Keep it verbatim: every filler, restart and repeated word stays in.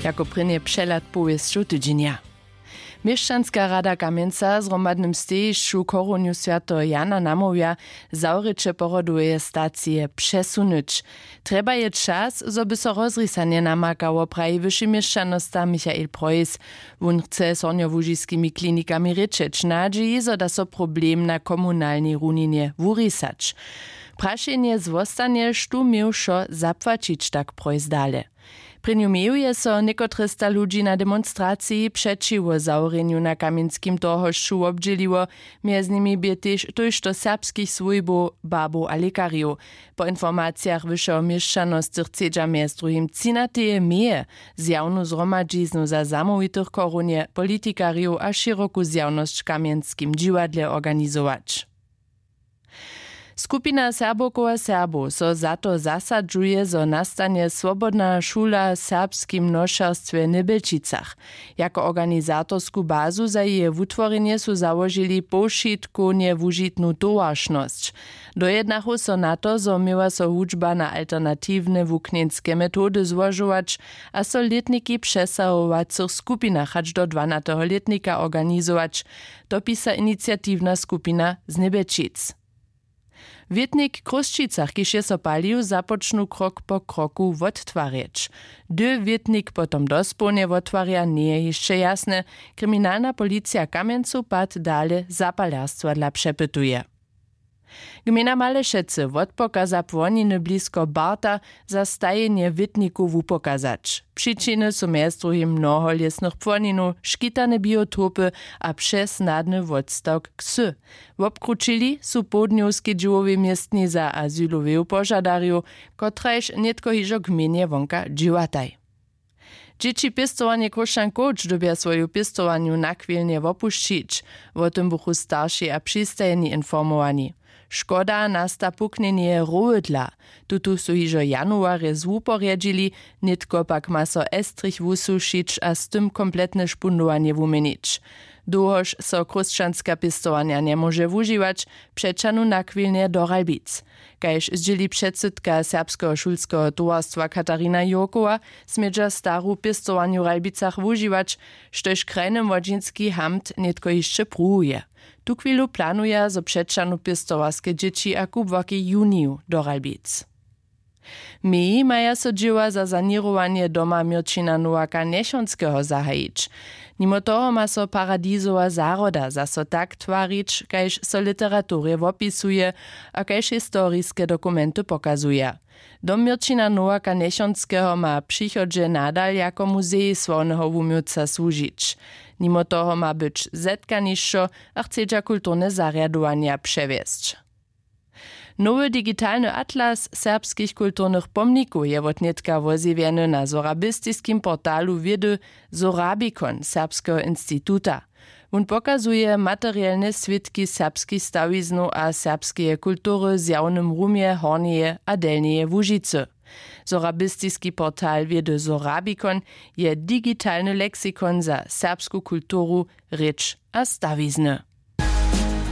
Jako prěnje přehlad powěsćow tydźenja. Měšćanska rada kamjenca w zhromadnym stejišću chorunju swjateho jana namołwja, zawrěće porodoweje stacije přesunyć. Trjeba je čas, zo by so rozrisanje namakało, praji wyši měšćanosta michael preuss. Wón chce z hornjołužiskimi klinikami rěčeć w nadźiji, zo da so problem na komunalnej runinje wurisać. Prašenje zwostanje, štó měł wšo zapłaćić, tak preuss dale. Prěnju meju je so někotresta ludźi na demonstraciji přećiwo zawrjenju na kamjenskim torhošću wobdźěliło. Mjez nimi bě tež tójšto serbskich swójbow, babow a lěkarjow. Po informacijach wyšeho měšćanosty chcedźa mjez druhim třinateje meje zjawnu zhromadźiznu za zamołwitych chorunje, politikarjow a šěroku zjawnosć w kamjenskim dźiwadle organizować. Skupina serbowkow a serbow so za to zasadźuje, zo nastanje swobodna šula w serbskim nošerstwje w Njebjelčicach. Jako organizatorsku bazu za jeje wutworjenje su załožili powšitkownje wužitnu towaršnosć. Dojednachu so na to, zo měła so hudźba na alternatiwne wuknjeńske metody złožować a so lětniki w přesahowacych skupinach hač do dwanateho lětnika organizować, dopisa iniciatiwna skupina z Njebjelčic. Wětnik w Chrósćicach, kiž je so palił, započnu krok po kroku wottwarjeć. Hdy wětnik potom dospołnje wottwarja, njeje hišće jasne. Kriminalna policija w Kamjencu pad dale zapalerstwa dla přepytuje. Gmejna Malešecy wotpokaza płoniny blisko Barta za stajenje wětnikow wupokazać. Přičiny su mjez druhim mnoho lěsnych płoninow, škitane biotopy a přesnadny wotstawk ksy. Wobkrućili su połdnjowskej dźěłowej městni za azyloweju požadarjow, kotraž nětko hižo gmejnje wonka dźěłataj. Dźěći pěstowarnje Chróšćan Coach dyrbja swoju pěstowarnju nachwilnje wopušćić. Wo tym buchu staršej a přistajeni informowani. Škoda nasta puknjenje rowy dla. Tutu su hižo w januarje zwuporjedźili. Nětko pak ma so estrich wusušić a z tym kompletne špundowanje wuměnić. Dołhož so chrósćanska pěstowarnja njemóže wužiwać, přećahnu nachwilnje do Ralbic. Kaž zdźěli předsydka serbskeho šulskeho towarstwa Katarina Jurkowa, smědźa staru pěstowarnju w Ralbicach wužiwać, štož krajny młodźinski hamt nětko hišće pruwuje. Tuchwilu planuja, zo přećahnu pěstowarske dźěći a kubłarki w juniju do Ralbic. Meji maja so dźěła za saněrowanje doma měrćina nowaka njechonskeho zahajić. Nimo toho ma so paradizowa zahroda zaso tak twarić, kaž so w literaturje wopisuje a kaž historiske dokumenty pokazuja. Dom měrćina nowaka njechonskeho ma w přichodźe nadal jako muzej sławneho wuměłca słužić. Nimo toho ma być zetkanišćo a chcedźa kulturne zarjadowanja přewjesć. Nowy digitalny atlas serbskich kulturnych pomnikow je wotnětka wozjewjeny na sorabistiskim portalu wědy Sorabikon serbskeho instituta. Wón pokazuje materielne swědki serbskich stawiznow a serbskeje kultury w zjawnym rumje Hornjeje a Delnjeje Łužicy. Sorabistiski portal wědy Sorabikon je digitalny leksikon za serbsku kulturu, rěč a stawizny.